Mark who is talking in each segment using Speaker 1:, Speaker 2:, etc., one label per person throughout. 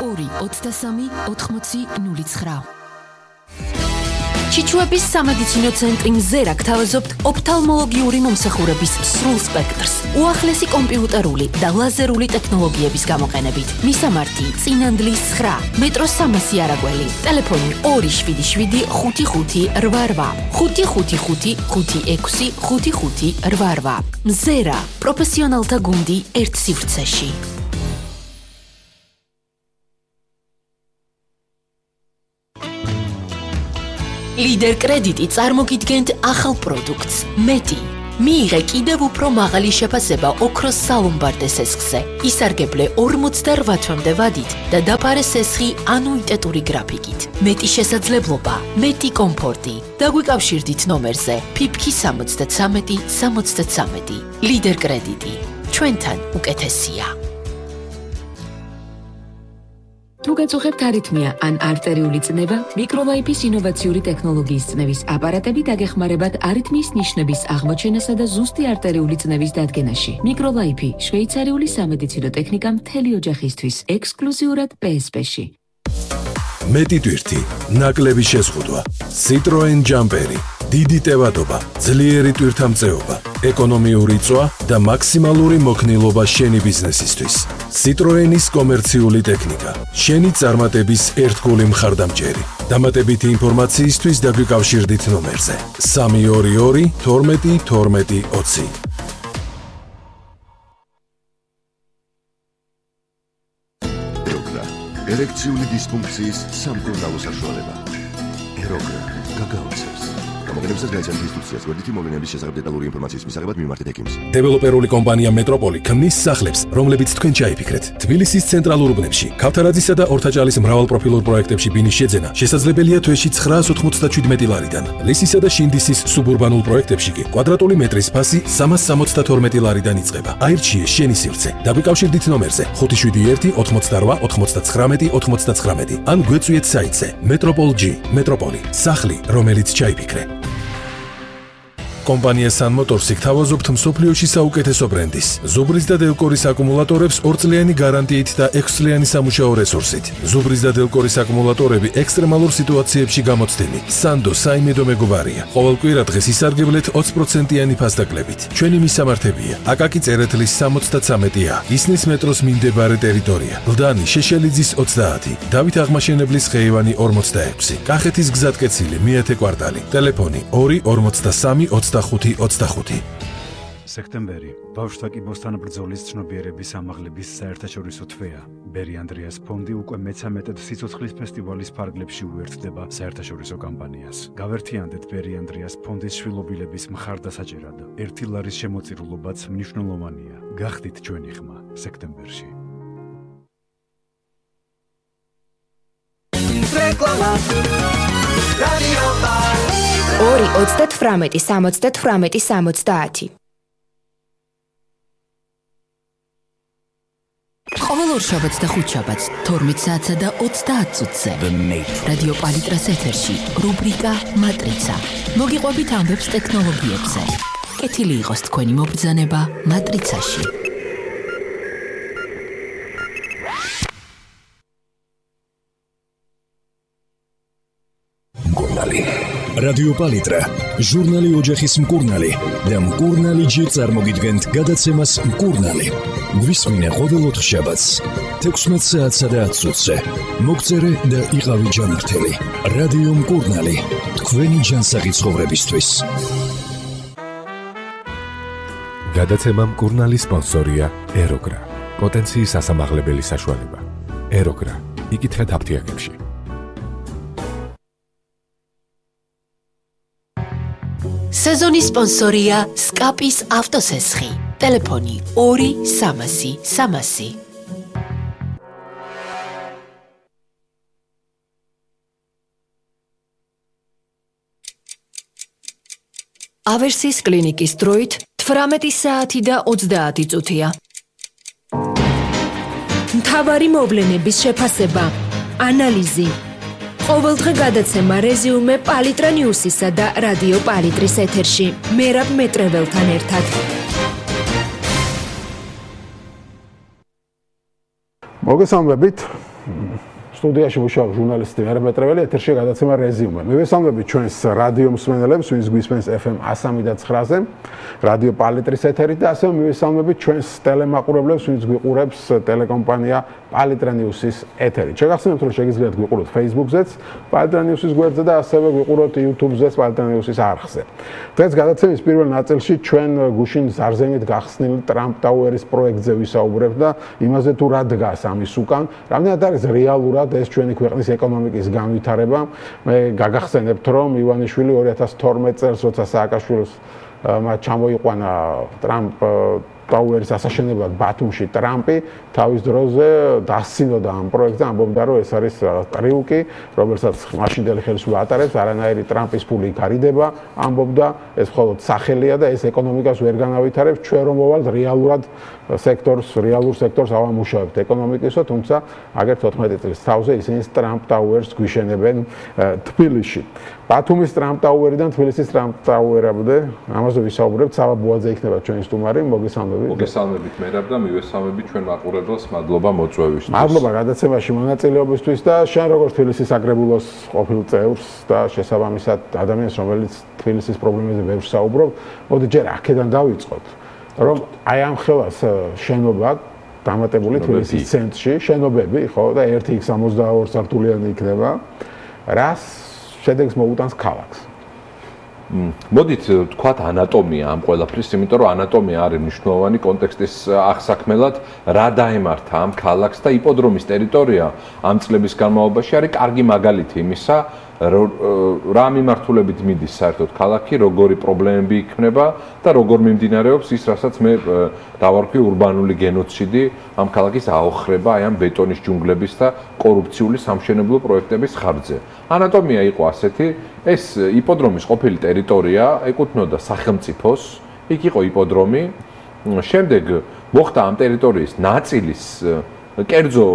Speaker 1: 223 8009. ჩიჩუების სამედიცინო ცენტრი მზერა გთავაზობთ ოფთალმოლოგიური მომსახურების სრულ სპექტრს, უახლესი კომპიუტერული და ლაზერული ტექნოლოგიების გამოყენებით. მისამართი: წინანდლის 9, მეტროს 300 არაგველი, ტელეფონი 277 55 88, 555 56 55 88. მზერა, პროფესიონალთა გუნდი ერთ სივრცეში. ლიდერ კრედიტი წარმოგიდგენთ ახალ პროდუქტს. მეტი. მიიღე კიდევ უფრო მაღალი შეფასება ოქროს სალომბარდე სესხზე. ისარგებლე 48 თვემდე ვადით და დაფარე სესხი ანუიტეტური გრაფიკით. მეტი შესაძლებლობა, მეტი კომფორტი. დაგვიკავშირდით ნომერზე ფიფქი 73 73. ლიდერ კრედიტი. ჩვენთან უკეთესია. თუ გაწუხებთ არითმია ან არტერიული წნევა, მიკროლაიფის ინოვაციური ტექნოლოგიის წნევის აპარატები დაგეხმარებათ არითმიის ნიშნების აღმოჩენასა და ზუსტი არტერიული წნევის დადგენაში. მიკროლაიფი, შვეიცარიული სამედიცინო ტექნიკა მთელი ოჯახისთვის, ექსკლუზიურად PSP-ში.
Speaker 2: მეტი ტვირთი, ნაკლები შეზღუდვა, Citroen ჯამპერი, დიდი ტევადობა, ძლიერი ტვირთამწეობა, ეკონომიური წვა და მაქსიმალური მოქნილობა შენი ბიზნესისთვის. Citroenis კომერციული ტექნიკა, შენი წარმატების ერთგული მხარდამჭერი. დამატებითი ინფორმაციისთვის დაგვიკავშირდით ნომერზე 322 12 12 20.
Speaker 3: ერექციული დისფუნქციის სამკურნალო საშუალება. ეროგრა გაგაოცებს. გამოგონებისას გაიცანთ ინსტრუქციას, გვერდითი მოვლენების შესახებ დეტალური ინფორმაციის მისაღებად მიმართეთ ექიმს.
Speaker 2: დეველოპერული კომპანია მეტროპოლი ქმნის სახლებს, რომლებიც თქვენ ჩაიფიქრეთ. თბილისის ცენტრალურ უბნებში, ქავთარაძისა და ორთაჭალის მრავალპროფილურ პროექტებში ბინის შეძენა შესაძლებელია თვეში 997 ლარიდან. ლისისა და შინდისის სუბურბანულ პროექტებში კი კვადრატული მეტრის ფასი 372 ლარიდან იწყება. აირჩიე შენი სივრცე. დაგვიკავშირდით ნომერზე 571 88 99 99 ან გვეწვიეთ საიტზე Metropol.G. მეტროპოლი, სახლი, რომელიც ჩაიფიქრე. კომპანია Sun Motors-ი გთავაზობთ მსოფლიოში საუკეთესო ბრენდის, ზუბრის და დელკორის აკუმულატორებს 2 წლიანი გარანტიით და 6 წლიანი სამუშაო რესურსით. ზუბრის და დელკორის აკუმულატორები ექსტრემალურ სიტუაციებში გამოცდილი. Sando საიმედო მეგობარია. ყოველ კვირა დღეს ისარგებლეთ 20%-იანი ფასდაკლებით. ჩვენი მისამართებია: აკაკი წერეთლის 73A, ისნის მეტროს მიმდებარე ტერიტორია, ლდანი შეშელიძის 30, დავით აღმაშენებლის ხეივანი 46, კახეთის გზატკეცილი მეათე კვარტალი, ტელეფონი 243 25.
Speaker 4: სექტემბერი ბავშვთა კიბოსთან ბრძოლის ცნობიერების ამაღლების საერთაშორისო თვეა. ბერი ანდრეას ფონდი უკვე მე-13 სიცოცხლის ფესტივალის ფარგლებში უერთდება საერთაშორისო კამპანიას. გავერთიანდეთ ბერი ანდრეას ფონდის შვილობილების მხარდასაჭერად. 1 ლარის შემოწირულობაც მნიშვნელოვანია. გახდით ჩვენი ხმა სექტემბერში.
Speaker 5: 2-38-70.
Speaker 1: ყოველ ორ შაბათს და ხუთშაბათს 12 საათსა და 30 წუთზე რადიო პალიტრას ეთერში რუბრიკა მატრიცა. მოგიყვებით ამბებს ტექნოლოგიებზე. კეთილი იყოს თქვენი მობრძანება მატრიცაში.
Speaker 6: რადიო პალიტრა, ჟურნალი ოჯახის მკურნალი და მკურნალი ჯი წარმოგიდგენთ გადაცემას მკურნალი. გვისმინე ყოველ 4 შაბათს 16 საათსა და 10 წუთზე. მოგწერე და იყავი ჯანმრთელი. რადიო მკურნალი, თქვენი ჯანსაღი ცხოვრებისთვის.
Speaker 7: გადაცემა მკურნალი სპონსორია ეროგრა. პოტენციის ასამაღლებელი საშუალება. ეროგრა. იკითხეთ აფთიაქებში.
Speaker 1: სეზონის სპონსორია სკაპის ავტოსესხი. ტელეფონი 2 300 300. ავერსის კლინიკის დროით 18 საათი და 30 წუთია.
Speaker 5: მთავარი მოვლენების შეფასება, ანალიზი. ყოველდღე გადაცემა რეზიუმე პალიტრა ნიუსისა და რადიო პალიტრის ეთერში. მერაბ მეტრეველთან ერთად.
Speaker 8: მოგესალმებით. სტუდიაში მუშაობს ჟურნალისტი მერაბ მეტრეველი, ეთერში გადაცემა რეზიუმე. მივესალმებით ჩვენს რადიო მსმენელებს, ვინც გვისმენს FM 103.9-ზე, რადიო პალიტრის ეთერით და ასევე მივესალმებით ჩვენს ტელემაყურებლებს, ვინც გვიყურებს ტელეკომპანია პალიტრა ნიუსის ეთერით. შეგახსენებთ, რომ შეგიძლიათ გვიყუროთ Facebook-ზეც, პალიტრა ნიუსის გვერდზე და ასევე გვიყუროთ YouTube-ზეც, პალიტრა ნიუსის არხზე. დღეს გადაცემის პირველ ნაწილში ჩვენ გუშინ ზარზენით გახსნილ ტრამპ ტაუერის პროექტზე ვისაუბრებთ და იმაზე თუ რა დგას ამის უკან, რამდენად არის რეალურად ეს ჩვენი ქვეყნის ეკონომიკის განვითარება. მე გაგახსენებთ, რომ ივანიშვილი 2012 წელს, როცა სააკაშვილს მათ ჩამოიყვანა ტრამპ ტაუერის ასაშენებლად ბათუმში ტრამპი თავის დროზე დასცინოდა ამ პროექტზე, ამბობდა, რომ ეს არის ტრიუკი, რომელსაც მაშინდელი ხელისუფლება ატარებს, არანაირი ტრამპის ფული გარიდება, ამბობდა, ეს მხოლოდ სახელია და ეს ეკონომიკას ვერ განავითარებს, ჩვენ რომ მოვალთ რეალურად რეალურ სექტორს ავამუშავებთ ეკონომიკისო, თუმცა აგერ 14 წლის თავზე ისინი ტრამპ ტაუერს გვიშენებენ თბილისში. ბათუმის ტრამპ ტაუერიდან თბილისის ტრამპ ტაუერამდე ამაზე ვისაუბრებთ. სава ბუაძე იქნება ჩვენი სტუმარი.
Speaker 9: მოგესალმებით მერაბ და მივესალმებით ჩვენ მაყურებელს. მადლობა მოწვევისთვის.
Speaker 8: მადლობა გადაცემაში მონაწილეობისთვის და შენ როგორც თბილისის საკრებულოს ყოფილ წევრს და შესაბამისად ადამიანს, რომელიც თბილისის პრობლემებზე ვერ საუბრობ, მოდი ჯერ აქედან დავიწყოთ. რომ აი ამ ხელას შენობა დამატებული თბილისის ცენტრში, შენობები, ხო, და 1x62 სართულიანი იქნება. რას შედეგს მოუტანს ქალაქს?
Speaker 9: მოდით ვთქვათ ანატომია ამ ყველაფრის, იმიტომ რომ ანატომია არის მნიშვნელოვანი კონტექსტის აღსაქმელად, რა დაემართა ამ ქალაქს და იპოდრომის ტერიტორია ამ წლების განმავლობაში არის კარგი მაგალითი იმისა, რა მიმართულებით მიდის საერთოდ ქალაქი, როგორი პრობლემები იქმნება და როგორ მიმდინარეობს ის, რასაც მე დავარქვი ურბანული გენოციდი ამ ქალაქის აოხრება აი ამ ბეტონის ჯუნგლების და კორუფციული სამშენებლო პროექტების ხარჯზე. ანატომია იყო ასეთი, ეს იპოდრომის ყოფილი ტერიტორია ეკუთვნოდა სახელმწიფოს, იქ იყო იპოდრომი, შემდეგ მოხდა ამ ტერიტორიის ნაწილის კერძო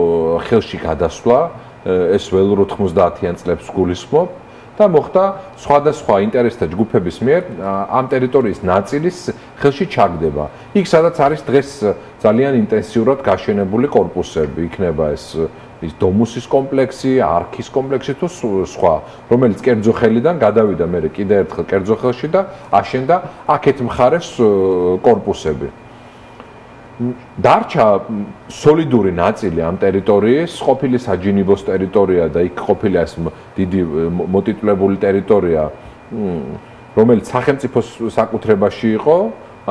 Speaker 9: ხელში გადასვლა, ეს ველურ 90-იან წლებს გულისხმობ და მოხდა სხვადასხვა ინტერესთა ჯგუფების მიერ ამ ტერიტორიის ნაწილის ხელში ჩაგდება. იქ სადაც არის დღეს ძალიან ინტენსიურად გაშენებული კორპუსები, იქნება ეს დომუსის კომპლექსი, არქის კომპლექსი თუ სხვა, რომელიც კერძო ხელიდან გადავიდა მერე კიდე ერთხელ კერძო ხელში და აშენდა აქეთ მხარეს კორპუსები. დარჩა სოლიდური ნაწილი ამ ტერიტორიის, ყოფილი საჯინიბოს ტერიტორია და იქ ყოფილი ეს დიდი მოტიტულებული ტერიტორია, რომელიც სახელმწიფოს საკუთრებაში იყო,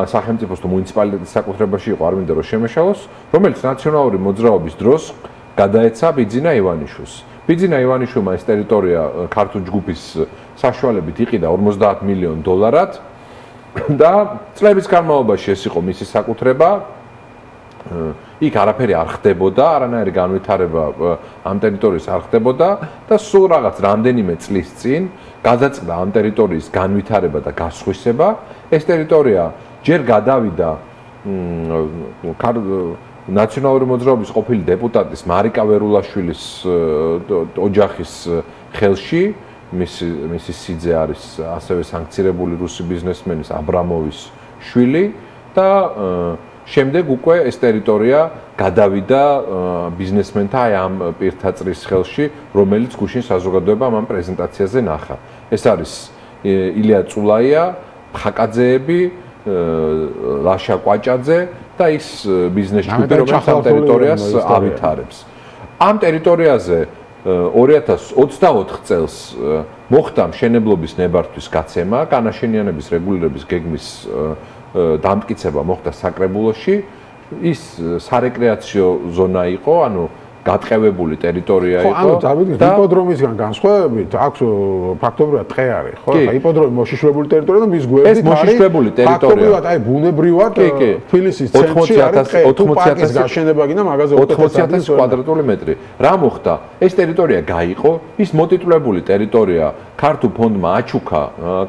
Speaker 9: სახელმწიფოს თუ მუნიციპალიტეტის საკუთრებაში იყო, არ მინდა რომ შემეშალოს, რომელიც ნაციონალური მოძრაობის დროს გადაეცა ბიძინა ივანიშვილს. ბიძინა ივანიშვილმა ეს ტერიტორია ქართულ ჯგუფის საშუალებით იყიდა 50 მილიონ დოლარად და წლების განმავლობაში ეს იყო მისი საკუთრება. იქ არაფერი არ ხდებოდა, არანაირი განვითარება ამ ტერიტორიის არ ხდებოდა და სულ რაღაც რამდენიმე წლის წინ გადაწყდა ამ ტერიტორიის განვითარება და გასხვისება. ეს ტერიტორია ჯერ გადავიდა ნაციონალური მოძრაობის ყოფილი დეპუტატის მარიკა ვერულაშვილის ოჯახის ხელში, მისი სიძე არის ასევე სანქცირებული რუსი ბიზნესმენის აბრამოვის შვილი და შემდეგ უკვე ეს ტერიტორია გადავიდა ბიზნესმენთა ამ პირთაწრის ხელში, რომელიც გუშინ საზოგადოებამ ამ პრეზენტაციაზე ნახა. ეს არის ილია წულაია, ხაკაძეები, ლაშა კვაჭაძე და ის ბიზნეს ჯგუფი, რომელიც ამ ტერიტორიას ავითარებს. ამ ტერიტორიაზე 2024 წელს მოხდა მშენებლობის ნებართვის გაცემა, განაშენიანების რეგულირების გეგმის დამტკიცება მოხდა საკრებულოში. ის სარეკრეაციო ზონა იყო, ანუ გატყევებული ტერიტორია იყო.
Speaker 8: ანუ დავიდგინეთ იპოდრომისგან განსხვავებით, აქვს ფაქტობრივად ტყე არის, ხო? ხა იპოდრომი მოშიშვლებული ტერიტორია და მის გვერდით არის
Speaker 9: მოშიშვლებული ტერიტორია.
Speaker 8: ფაქტობრივად, აი ბუნებრივად თბილისის ცენტრში არის ტყე, 80,000 გაშენება გინდა მაგაზე
Speaker 9: 80,000 კვადრატული მეტრი. რა მოხდა? ეს ტერიტორია გაიყო, ის მოტიტულებული ტერიტორია ქართულ ფონდმა აჩუქა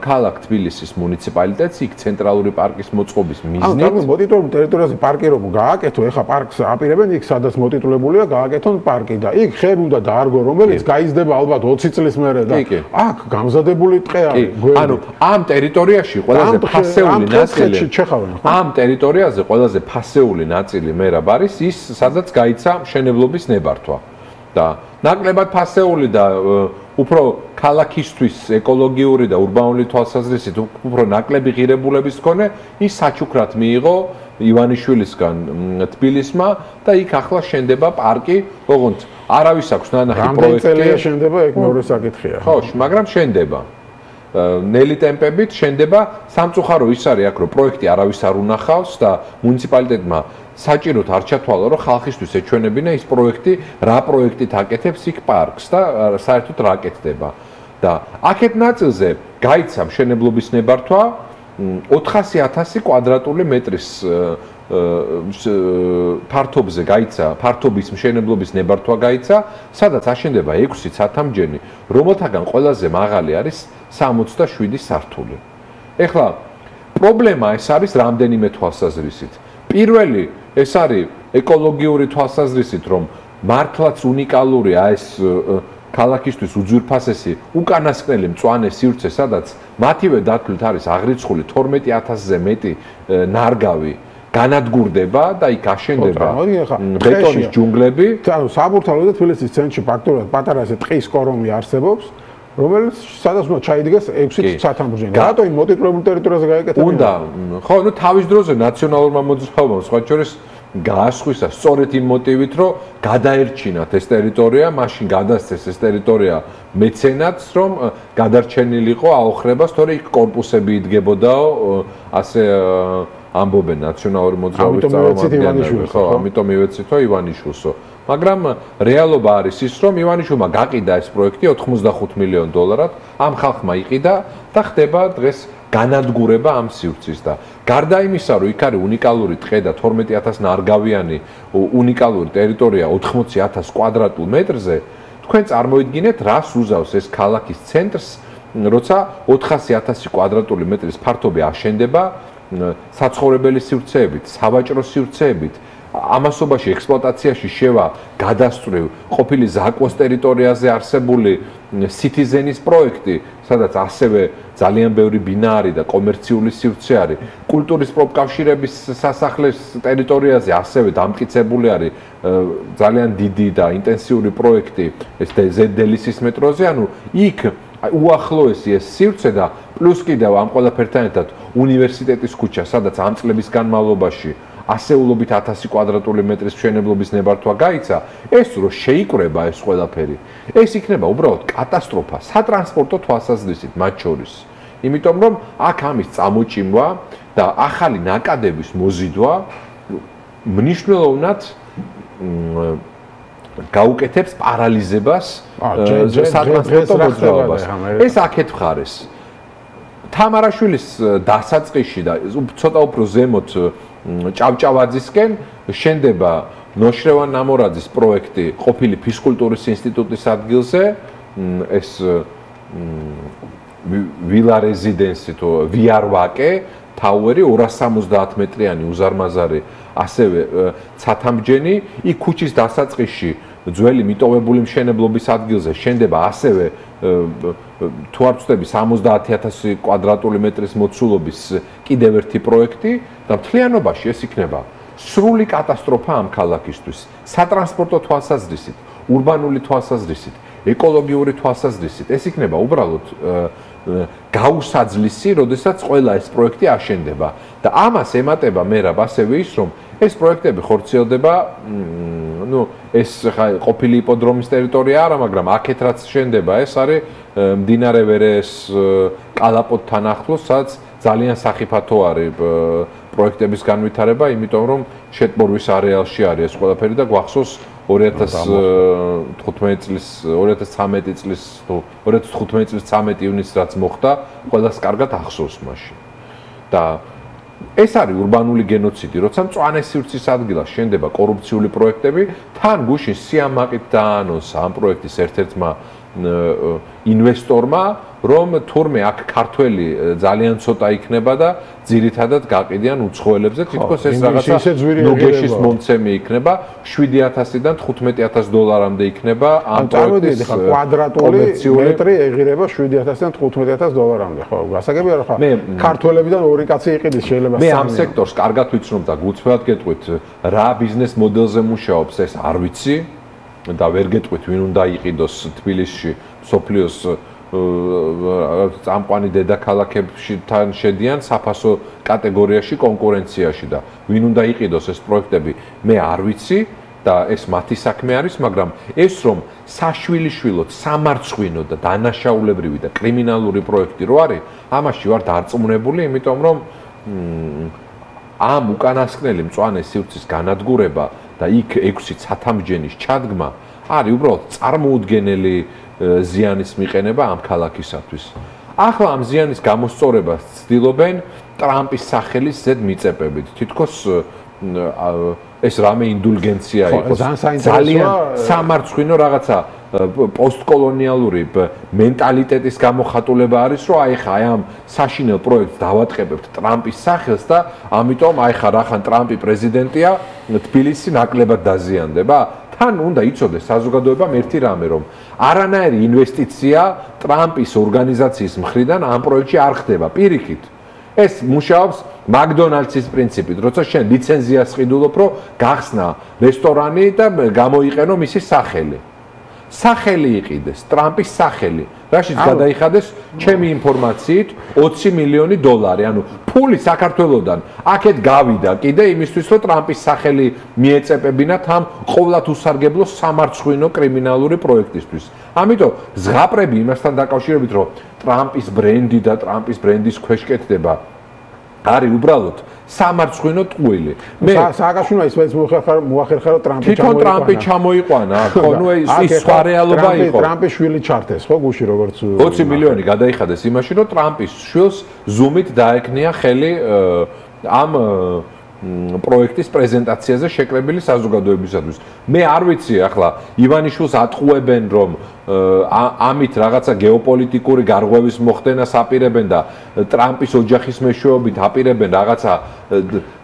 Speaker 9: ქალაქ თბილისის მუნიციპალიტეტს, იქ ცენტრალური პარკის მოწყობის მიზნით.
Speaker 8: ანუ მოტიტულებული ტერიტორიაზე პარკი რომ გააკეთო, ეხა პარკს აპირებენ იქ სადაც მოტიტულებულია გააკეთონ პარკი და იქ ხე უნდა დაარგო, რომელიც გაიზრდება ალბათ 20 წლის მერე და აქ გამზადებული ტყე არის.
Speaker 9: ანუ ამ ტერიტორიაში ყველაზე ფასეული ნაწილი ამ ტერიტორიაზე ყველაზე ფასეული ნაწილი მერაბ არის ის, სადაც გაიცა მშენებლობის ნებართვა. და ნაკლებად ფასეული და უფრო ქალაქისთვის ეკოლოგიური და ურბანული თვალსაზრისით უფრო ნაკლები ღირებულების მქონე ის საჩუქრად მიიღო ივანიშვილისგან თბილისმა და იქ ახლა შენდება პარკი, ოღონდ არავის აქვს ნანახი პროექტი.
Speaker 8: რამდენი წელია შენდება, ეგ მეორე საკითხია.
Speaker 9: ხო, მაგრამ შენდება. ნელი ტემპებით შენდება, სამწუხარო ის არის აქ, რომ პროექტი არავის არ უნახავს და მუნიციპალიტეტმა საჭიროდ არ ჩათვალა, რომ ხალხისთვის ეჩვენებინა ის პროექტი, რა პროექტით აკეთებს იქ პარკს და საერთოდ რა აკეთდება. და აქეთ ნაწილზე გაიცა მშენებლობის ნებართვა 400,000 კვადრატული მეტრის ფართობზე გაიცა, ფართობის მშენებლობის ნებართვა გაიცა, სადაც აშენდება 6 ცათამბჯენი, რომელთაგან ყველაზე მაღალი არის 67 სართული. ეხლა პრობლემა ეს არის რამდენიმე თვალსაზრისით. პირველი ეს არის ეკოლოგიური თვალსაზრისით, რომ მართლაც უნიკალურია ეს ქალაქისთვის უძვირფასესი უკანასკნელი მწვანე სივრცე, სადაც მათივე დათვლით არის აღრიცხული 12,000-ზე მეტი ნარგავი განადგურდება და იქ აშენდება ბეტონის ჯუნგლები.
Speaker 8: ანუ საბურთალო და თბილისის ცენტრში ფაქტობრივად პატარა ესე ტყის კორომი არსებობს, რომელიც სადაც უნდა ჩაიდგეს 6 ცათამბჯენი. რატო იმ მოტიტულებულ ტერიტორიაზე გაიკეთა?
Speaker 9: უნდა, ხო, ნუ თავის დროზე ნაციონალურმა მოძრაობამ სხვა შორის გაასხვისა სწორედ იმ მოტივით, რომ გადაერჩინათ ეს ტერიტორია, მაშინ გადასცეს ეს ტერიტორია მეცენატს, რომ გადარჩენილიყო აოხრება, თორე იქ კორპუსები იდგებოდაო, ასე ამბობენ ნაციონალური მოძრაობის წარმომადგენლები, ხო, ამიტომ ივეცითო ივანიშვილსო. მაგრამ რეალობა არის ის, რომ ივანიშვილმა გაყიდა ეს პროექტი 85 მილიონ დოლარად, ამ ხალხმა იყიდა და ხდება დღეს განადგურება ამ სივრცის და გარდა იმისა, რომ იქ არის უნიკალური ტყე და 12,000 ნარგავიანი უნიკალური ტერიტორია 80,000 კვადრატულ მეტრზე, თქვენ წარმოიდგინეთ, რას უზავს ეს ქალაქის ცენტრს, როცა 400,000 კვადრატული მეტრის ფართობი აშენდება საცხოვრებელი სივრცეებით, სავაჭრო სივრცეებით, ამასობაში ექსპლუატაციაში შევა გადასწრევ ყოფილი ზაკვოს ტერიტორიაზე არსებული Citizen-ის პროექტი, სადაც ასევე ძალიან ბევრი ბინარი და კომერციული სივრცე არის. კულტურის პროფკავშირების სასახლის ტერიტორიაზე ასევე დამტკიცებული არის ძალიან დიდი და ინტენსიური პროექტი ეს ზედელისის მეტროზე, ანუ იქ უახლოესი ეს სივრცე და პლუს კიდევ ამ ყველაფერთან ერთად უნივერსიტეტის ქუჩა, სადაც ამ წლების განმავლობაში ასეულობით 1000 კვადრატული მეტრის მშენებლობის ნებართვა გაიცა, ეს რო შეიკრება ეს ყველაფერი, ეს იქნება უბრალოდ კატასტროფა სატრანსპორტო თვალსაზრისით მათ შორის. იმიტომ რომ აქ ამის წამოჭიმვა და ახალი ნაკადების მოზიდვა მნიშვნელოვნად გაუკეთებს პარალიზებას სატრანსპორტო მოძრაობას. ეს აქეთ მხარეს. თამარაშვილის დასაწყისში და ცოტა უფრო ზემოთ ჭავჭავაძისკენ შენდება ნოშრევან ნამორაძის პროექტი ყოფილი ფიზკულტურის ინსტიტუტის ადგილზე, ეს ვილა რეზიდენსი თუ VR-ვაკე, თაუერი 270 მეტრიანი უზარმაზარი, ასევე ცათამბჯენი, იქ ქუჩის დასაწყისში ძველი მიტოვებული მშენებლობის ადგილზე შენდება ასევე თუ არ ვწდები 70,000 კვადრატული მეტრის მოცულობის კიდევ ერთი პროექტი და მთლიანობაში ეს იქნება სრული კატასტროფა ამ ქალაქისთვის. სატრანსპორტო თვალსაზრისით, ურბანული თვალსაზრისით, ეკოლოგიური თვალსაზრისით, ეს იქნება უბრალოდ გაუსაძლისი, როდესაც ყველა ეს პროექტი აშენდება და ამას ემატება მერაბ ასევე ის, რომ ეს პროექტები ხორციელდება, ну, ეს ყოფილი იპოდრომის ტერიტორია არა, მაგრამ აქეთ რაც შენდება, ეს არის მდინარე ვერეს კალაპოტთან ახლოს, სადაც ძალიან სახიფათო არის პროექტების განვითარება, იმიტომ რომ შეტბორვის არეალში არის ეს ყველაფერი და გვახსოვს 2015 წლის 2013 წლის 2015 წლის 13 ივნისს რაც მოხდა, ყველას კარგად ახსოვს მაშინ. და ეს არის ურბანული გენოციდი, როცა მწვანე სივრცის ადგილას შენდება კორუფციული პროექტები, თან გუშინ სიამაყით დაანონსა ამ პროექტის ერთ-ერთმა ინვესტორმა, რომ თურმე აქ ქართველი ძალიან ცოტა იქნება და ძირითადად გაყიდიან უცხოელებზე, თითქოს ეს რაღაცა ნუგეშის მომცემი იქნება, 7,000-დან 15,000 დოლარამდე იქნება ამ პროექტის
Speaker 8: კვადრატული მეტრი ეღირება 7,000-დან 15,000 დოლარამდე, ხო, გასაგები არა ხა? ქართველებიდან ორი კაცი იყიდეს შეიძლება.
Speaker 9: მე ამ სექტორს კარგად ვიცნობ და გულწრფელად გეტყვით, რა ბიზნეს მოდელზე მუშაობს ეს არ ვიცი. და ვერ გეტყვით ვინ უნდა იყიდოს თბილისში სოფლიოს წამყვანი დედაქალაქებში თან შედიან საფასო კატეგორიაში კონკურენციაში და ვინ უნდა იყიდოს ეს პროექტები მე არ ვიცი და ეს მათი საქმე არის, მაგრამ ეს რომ საშვილიშვილოდ სამარცხვინო და დანაშაულებრივი და კრიმინალური პროექტი რო არის, ამაში ვარ დარწმუნებული, იმიტომ რომ ამ უკანასკნელი მწვანე სივრცის განადგურება და იქ 6 ცათამბჯენის ჩადგმა არის უბრალოდ წარმოუდგენელი ზიანის მიყენება ამ ქალაქისათვის. ახლა ამ ზიანის გამოსწორებას ცდილობენ ტრამპის სახელის ზედ მიწებებით. თითქოს ეს რამე ინდულგენცია იყოს. ძალიან სამარცხვინო რაღაცა პოსტკოლონიალური მენტალიტეტის გამოხატულება არის, რომ აი ხა ამ საშინელ პროექტს დავატყებებთ ტრამპის სახელს და ამიტომ აი ხა რახან ტრამპი პრეზიდენტია, თბილისი ნაკლებად დაზიანდება. თან უნდა იცოდეს საზოგადოებამ ერთი რამე, რომ არანაირი ინვესტიცია ტრამპის ორგანიზაციის მხრიდან ამ პროექტში არ ხდება. პირიქით, ეს მუშაობს მაკდონალდსის პრინციპით, როცა შენ ლიცენზიას ყიდულობ, რომ გახსნა რესტორანი და გამოიყენო მისი სახელი. სახელი იყიდეს, ტრამპის სახელი. რაშიც გადაიხადეს ჩემი ინფორმაციით 20 მილიონი დოლარი, ანუ ფული საქართველოსდან აქეთ გავიდა კიდე იმისთვის, რომ ტრამპის სახელი მიეწებებინათ ამ ყოვლად უსარგებლო სამარცხვინო კრიმინალური პროექტისთვის. ამიტომ ზღაპრები იმასთან დაკავშირებით, რომ ტრამპის ბრენდი და ტრამპის ბრენდის ქვეშ კეთდება არის უბრალოდ სამარცხვინო ტყუილი. მე
Speaker 8: სააკაშვილმა ისმენს მოახერხა რომ
Speaker 9: ტრამპი ჩამოიყვანა, ხო, ნუ ის სხვა რეალობა იყო.
Speaker 8: ტრამპის შვილი ჩართეს, ხო, გუში როგორც
Speaker 9: 20 მილიონი გადაიხადეს იმაში, რომ ტრამპის შვილს ზუმით დაეკნია ხელი ამ პროექტის პრეზენტაციაზე შეკრებილი საზოგადოებისათვის. მე არ ვიცი ახლა ივანიშვილს ატყუებენ რომ ამით რაღაცა გეოპოლიტიკური გარღვევის მოხდენას აპირებენ და ტრამპის ოჯახის მეშვეობით აპირებენ რაღაცა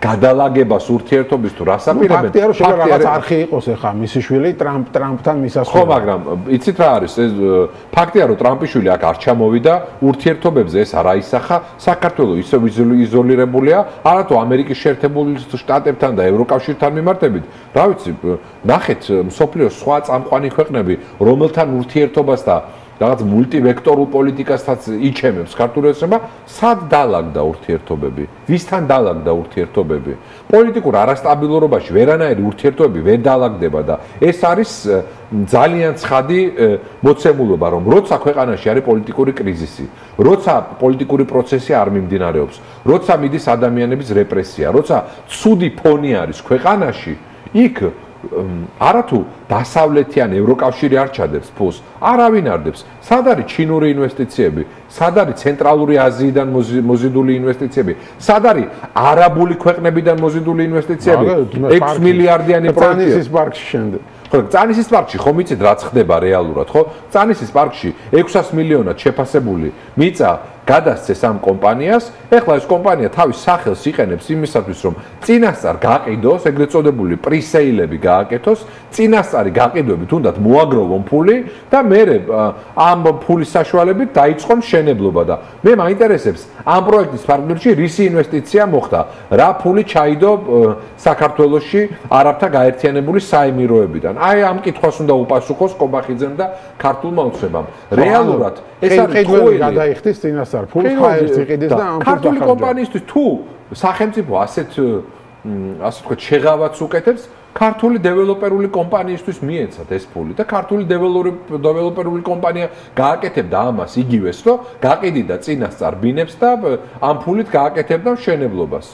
Speaker 9: გადალაგებას ურთიერთობის თუ რას აპირებენ.
Speaker 8: ფაქტია რომ შეიძლება რაღაც არხი იყოს ახლა მისი შვილი ტრამპთან მისასვლელი.
Speaker 9: ხო, მაგრამ იცით რა არის? ეს ფაქტია რომ ტრამპის შვილი აქ არ ჩამოვიდა ურთიერთობებზე ეს არ აისახა. საქართველოს ისევ იზოლირებულია, არათუ ამერიკის შეერთებული შტატებთან და ევროკავშირთან მიმართებით. რა ვიცი, ნახეთ მსოფლიოს სხვა წამყვანი ქვეყნები, რომელთან ურთიერთობას და რაღაც მულტივექტორულ პოლიტიკასაც იჩემებს ქართული ოცნება, სად დაალაგდა ურთიერთობები? ვისთან დაალაგდა ურთიერთობები? პოლიტიკურ არასტაბილურობაში ვერანაირი ურთიერთობები ვერ დაალაგდება და ეს არის ძალიან ცხადი მოცემულობა, რომ როცა ქვეყანაში არის პოლიტიკური კრიზისი, როცა პოლიტიკური პროცესი არ მიმდინარეობს, როცა მიდის ადამიანების რეპრესია, როცა ცუდი ფონი არის ქვეყანაში, იქ არათუ დასავლეთიან ევროკავშირი არ ჩადებს ფულს, არავინ არ დებს. სად არის ჩინური ინვესტიციები, სად არის ცენტრალური აზიიდან მოზიდული ინვესტიციები, სად არის არაბული ქვეყნებიდან მოზიდული ინვესტიციები, 6 მილიარდიანი პროექტი.
Speaker 8: წანისის პარკში შემდეგ.
Speaker 9: ხო, წანისის პარკში ხომ იცით რაც ხდება რეალურად, ხო? წანისის პარკში 600 მილიონად შეფასებული მიწა გადასცეს ამ კომპანიას. ეხლა ეს კომპანია თავის სახელს იყენებს იმისათვის, რომ წინასწარ გაყიდოს, ეგრეთ წოდებული პრისეილები გააკეთოს, წინასწარი გაყიდვებით უნდათ მოაგროვონ ფული და მერე ამ ფულის საშუალებით დაიწყონ მშენებლობა და მე მაინტერესებს ამ პროექტის ფარგლებში რისი ინვესტიცია მოხდა, რა ფული ჩაიდო საქართველოში არაბთა გაერთიანებული საემიროებიდან. აი ამ კითხვას უნდა უპასუხოს კობახიძემ და ქართულმა ოცნებამ. რეალურად ეს არის ტყუილი
Speaker 8: გადაიხდის წინასწარ ფულს ხაერს იყიდეს და ამ
Speaker 9: ქართული კომპანიისთვის თუ სახელმწიფო ასე თქვა შეღავაც უკეთებს, ქართული დეველოპერული კომპანიისთვის მიეცათ ეს ფული და ქართული დეველოპერული კომპანია გააკეთებდა ამას იგივეს, რომ გაყიდიდა წინასწარ ბინებს და ამ ფულით გააკეთებდა მშენებლობას.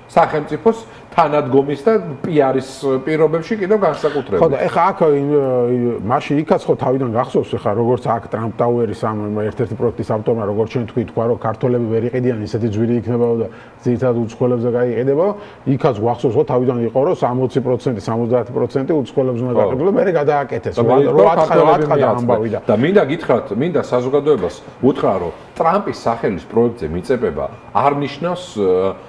Speaker 9: სახელმწიფოს თანადგომის და პიარის პირობებში კიდევ განსაკუთრებით.
Speaker 8: ხო და ეხა აქ მაშინ იქაც ხო თავიდან გახსოვს ეხა როგორც აქ ტრამპ ტაუერის ამ ერთ-ერთი პროექტის ავტორმა როგორც ჩვენ თქვა რომ ქართველები ვერ იყიდიან ისეთი ძვირი იქნება და ძირითადად უცხოელებზე გაიყიდება, იქაც გახსოვს ხო თავიდან იყო რომ 60%, 70% უცხოელებს უნდა გაყიდულიყო, მე გადააკეთეს. რო ათხარა ამბავი და
Speaker 9: მინდა გითხრათ, მინდა საზოგადოებას უთხრა რომ ტრამპის სახელის პროექტზე მიწებება არ ნიშნავს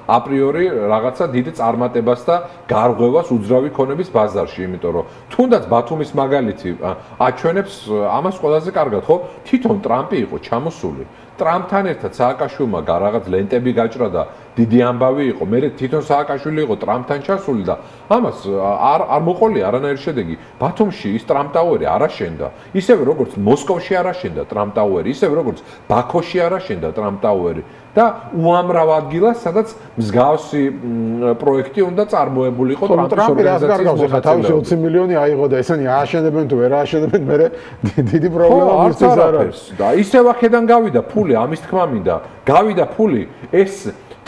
Speaker 9: აპრიორი რაღაცა დიდ წარმატებას და გარღვევას უძრავი ქონების ბაზარში, იმიტომ რომ თუნდაც ბათუმის მაგალითი აჩვენებს ამას ყველაზე კარგად, ხო? თვითონ ტრამპი იყო ჩამოსული. ტრამპთან ერთად სააკაშვილმა რაღაც ლენტები გაჭრა და დიდი ამბავი იყო. მე თვითონ სააკაშვილი იყო ტრამპთან ჩასული და ამას არ მოყოლია არანაირი შედეგი. ბათუმში ის ტრამპ ტაუერი არ აშენდა. ისევე როგორც მოსკოვში არ აშენდა ტრამპ ტაუერი, ისევე როგორც ბაქოში არ აშენდა ტრამპ ტაუერი. და უამრავ ადგილას, სადაც მსგავსი პროექტი უნდა წარმოებულიყო ტრამპის ორგანიზაციის
Speaker 8: მოხდა. თავისი 20 მილიონი აიღო და ესენი ააშენებენ თუ ვერ ააშენებენ, მე დიდი პრობლემა მისთვის არ არის.
Speaker 9: და ისევ აქედან გავიდა ფული, ამის თქმა მინდა. გავიდა ფული, ეს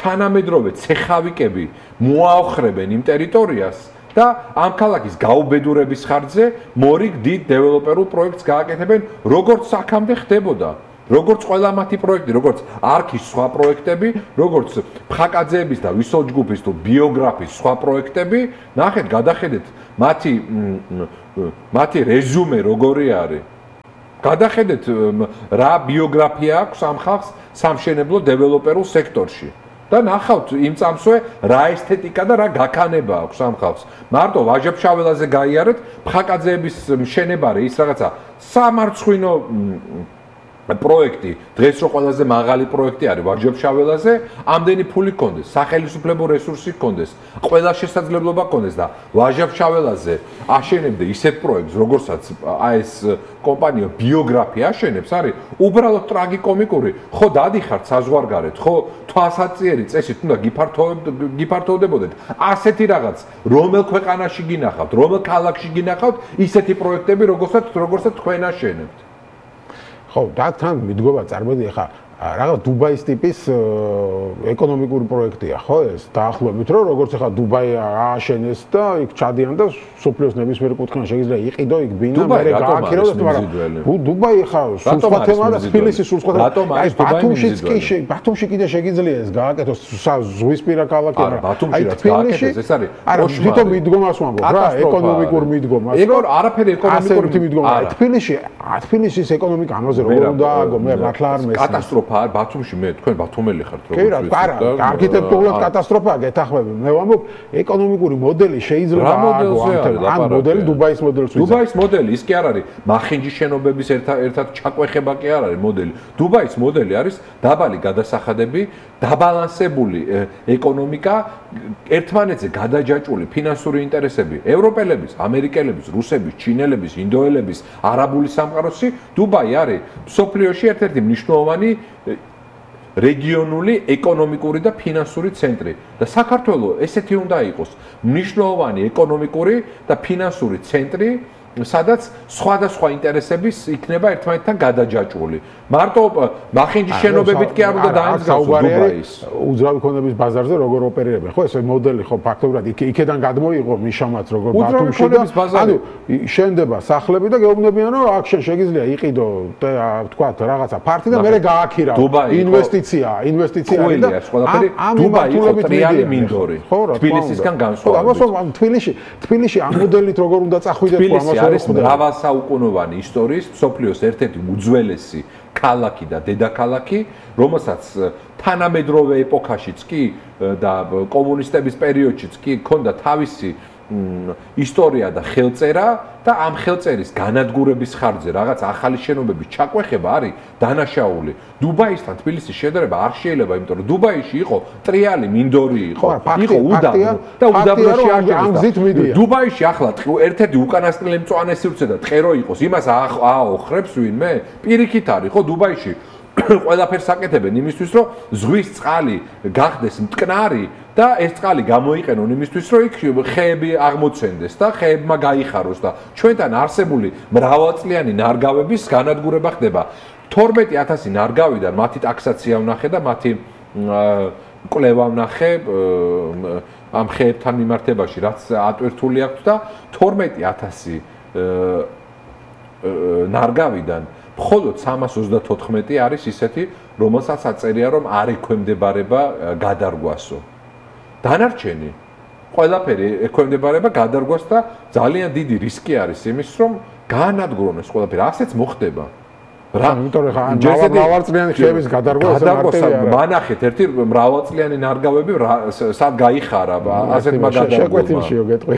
Speaker 9: თანამედროვე ცეხავიკები მოაოხრებენ იმ ტერიტორიას და ამ ქალაქის გაუბედურების ხარჯზე მორიგ დიდ დეველოპერულ პროექტს გააკეთებენ, როგორც აქამდე ხდებოდა. როგორც ყველა მათი პროექტი, როგორც არქის სხვა პროექტები, როგორც ფხაკაძეების და ვისოლჯგუფის თუ ბიოგრაფიის სხვა პროექტები, ნახეთ, გადახედეთ მათი რეზუმე როგორი არის. გადახედეთ რა ბიოგრაფია აქვს ამ ხალხს სამშენებლო დეველოპერულ სექტორში. და ნახავთ იმ წამსვე რა ესთეტიკა და რა გაქანება აქვს ამ ხალხს. მარტო ვაჟა-ფშაველაზე გაიარეთ, ფხაკაძეების მშენებარე ის რაღაცა სამარცხვინო პროექტი, დღეს რო ყველაზე მაღალი პროექტი არის ვაჟა-ფშაველაზე, ამდენი ფული გქონდეს, სახელმწიფო რესურსი გქონდეს, ყველა შესაძლებლობა გქონდეს და ვაჟა-ფშაველაზე აშენებდე ისეთ პროექტს, როგორცაც ეს კომპანია ბიოგრაფია აშენებს, არის უბრალოდ ტრაგიკომიკური. ხო დადიხართ საზღვარგარეთ, ხო თვალსაჩინო წესით უნდა გიფართოვდებოდეთ. ასეთი რაღაც, რომელ ქვეყანაში გინახავთ, რომელ ქალაქში გინახავთ, ისეთი პროექტები, როგორცაც თქვენ აშენებთ.
Speaker 8: ხო, დაგთან მიდგომა წარმოიდგინე ხა რაღაც დუბაის ტიპის ეკონომიკური პროექტია, ხო ეს? დაახლოებით რომ როგორც ახლა დუბაი ააშენეს და იქ ჩადიან და სოფლიოს ნებისმიერ კუთხიდან შეიძლება იყიდო იქ ბინა, მე გააქირავდეს, მაგრამ დუბაი ხა სულ სხვა თემაა და თბილისი სულ სხვა თემაა. აი ბათუმში კიდე შეგიძლია ეს გააკეთოს ზღვისპირა ქალაქი,
Speaker 9: მაგრამ აი თბილისში ეს არის
Speaker 8: არა თვითონ მიდგომას ვამბობ რა, ეკონომიკურ მიდგომას.
Speaker 9: ეგ არაფერი ეკონომიკური
Speaker 8: მიდგომა. თბილისის ეკონომიკა ამაზე როგორ უნდა ააგო, მე მართლა არ მესმის.
Speaker 9: კატასტროფა ბათუმში მე თქვენ ბათუმელი ხართ
Speaker 8: როგორ ვიცით? კი რა, არქიტექტურულად კატასტროფაა გეთახმები. მე ვამბობ, ეკონომიკური მოდელი შეიძლება ააგო ამ მოდელი დუბაის მოდელს ვიზა.
Speaker 9: დუბაის მოდელი ის კი არ არის მახინჯის შენობების ერთად ჩაკვეხება კი არ არის მოდელი. დუბაის მოდელი არის დაბალი გადასახადები, დაბალანსებული ეკონომიკა, ერთმანეთზე გადაჯაჭვული ფინანსური ინტერესები, ევროპელების, ამერიკელების, რუსების, ჩინელების, ინდოელების, არაბული სამყაროსი, დუბაი არის მსოფლიოში ერთ-ერთი მნიშვნელოვანი რეგიონული ეკონომიკური და ფინანსური ცენტრი და საქართველოს ესეთი უნდა იყოს მნიშვნელოვანი ეკონომიკური და ფინანსური ცენტრი, სადაც სხვადასხვა ინტერესების იქნება ერთმანეთთან გადაჯაჭვული. მარტო მახინჯის შენობებით კი არ უნდა დაემსგავსოს დუბაის.
Speaker 8: უძრავი ქონების ბაზარზე როგორ ოპერირებენ? ხო, ეს მოდელი ხო ფაქტობრივად იქედან გადმოიღო მიშამაც როგორ ბათუმში და ანუ შენდება სახლები და გეუბნებიან რომ აქ შეიძლება იყიდო თქვა რაღაცა ფართი და მე გააქირავ. ინვესტიცია არის და ამ
Speaker 9: დუბაი იყო ტრიალი მინდორი. თბილისისგან განსხვავებით.
Speaker 8: თბილისში ამ მოდელით როგორ უნდა წახვიდეთ
Speaker 9: თბილისი არის მრავალსაუკუნოვანი ისტორიის მსოფლიოს ერთ-ერთი უძველესი ქალაქი და დედაქალაქი, რომელსაც თანამედროვე ეპოქაშიც კი და კომუნისტების პერიოდშიც კი ჰქონდა თავისი ისტორია და ხელწერა და ამ ხელწერის განადგურების ხარჯზე რაღაც ახალი შენობების ჩაკვეხება არის დანაშაული. დუბაისთან თბილისის შედარება არ შეიძლება, იმიტომ რომ დუბაიში იყო ტრიალი მინდორი იყო უდაბნო და უდაბნოში აღჭერდა. დუბაიში ახლა ერთ-ერთი უკანასკნელი მწვანე სივრცე და ტყერო იყოს, იმას აოხრებს ვინმე? პირიქით არის ხო დუბაიში ყველაფერს აკეთებენ იმისთვის, რომ ზღვის წყალი გახდეს მტკნარი და ეს წყალი გამოიყენონ იმისთვის, რომ იქ ხეები აღმოცენდეს და ხეებმა გაიხაროს და ჩვენთან არსებული მრავალწლიანი ნარგავების განადგურება ხდება. 12000 ნარგავიდან მათი ტაქსაცია ვნახე და მათი კვლევა ვნახე ამ ხეებთან მიმართებაში, რაც ატვირთული აქვს და 12000 ნარგავიდან მხოლოდ 334 არის ისეთი, რომელსაც აწერია, რომ არ ექვემდებარება გადარგვასო. დანარჩენი ყველაფერი ექვემდებარება გადარგვას და ძალიან დიდი რისკი არის იმის, რომ გაანადგურონ ეს ყველაფერი. ასეც მოხდება.
Speaker 8: რა, იმიტომ რომ მრავალწლიანი ხეების გადარგვა
Speaker 9: მანახეთ ერთი მრავალწლიანი ნარგავები სად გაიხარა ასეთმა გადარგვებმა.
Speaker 8: შეკვეთილშიო გეტყვი.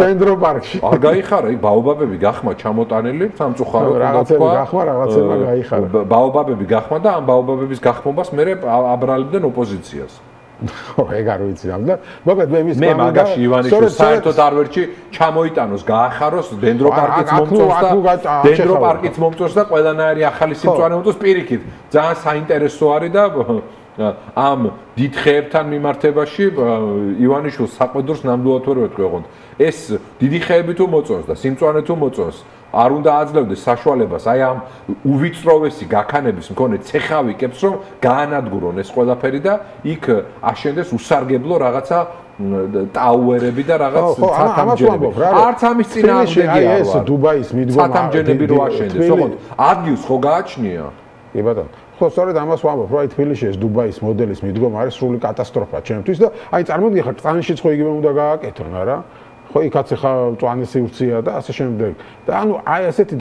Speaker 8: დენდრო პარკში.
Speaker 9: არ გაიხარა, იქ ბაობაბები გახმა ჩამოტანილი, სამწუხაროდ
Speaker 8: რაღაცები გახმა, რაღაცება გაიხარა.
Speaker 9: ბაობაბები გახმა და ამ ბაობაბების გახმობას მე აბრალებდნენ ოპოზიციას.
Speaker 8: ხო, ეგ არ ვიცი და მოკლედ მე მის
Speaker 9: მე მაგაში ივანიშვილს საერთოდ არ ვერჩი ჩამოიტანოს, გაახაროს დენდროპარკიც მომწონს და დენდროპარკიც მომწონს და ყველანაირი ახალი სიმწვანე მომწონს პირიქით. ძალიან საინტერესო არის და ამ დიდ ხეებთან მიმართებაში ივანიშვილს საყვედურს ნამდვილად ვერ ვეთქვი ოღონდ. ეს დიდი ხეები თუ მოწონს და სიმწვანე თუ მოწონს, არ უნდა აძლევდეს საშუალებას აი ამ უვიწროვესი გაქანების მქონე ცეხავიკებს რომ გაანადგურონ ეს ყველაფერი და იქ აშენდეს усარგებლო რაღაცა ტაუერები და რაღაც ცათამბჯენები. არც ამის წინააღმდეგი არ ვარ.
Speaker 8: ეს დუბაის მიდგომა
Speaker 9: ცათამბჯენები რო აშენდეს, ოღონდ ადგილს ხო გააჩნია?
Speaker 8: კი ბატონო. ხო, სწორედ ამას ვამბობ, რომ აი თბილისში ეს დუბაის მოდელის მიდგომა არის სრული კატასტროფა ჩემთვის და აი წარმოგიდგენთ ხარ წანშიც ხო იგივე უნდა გააკეთონ არა? ხო, იქაც ხა მწვანე სივრცეა და ასე შემდეგ. და ანუ აი ასეთი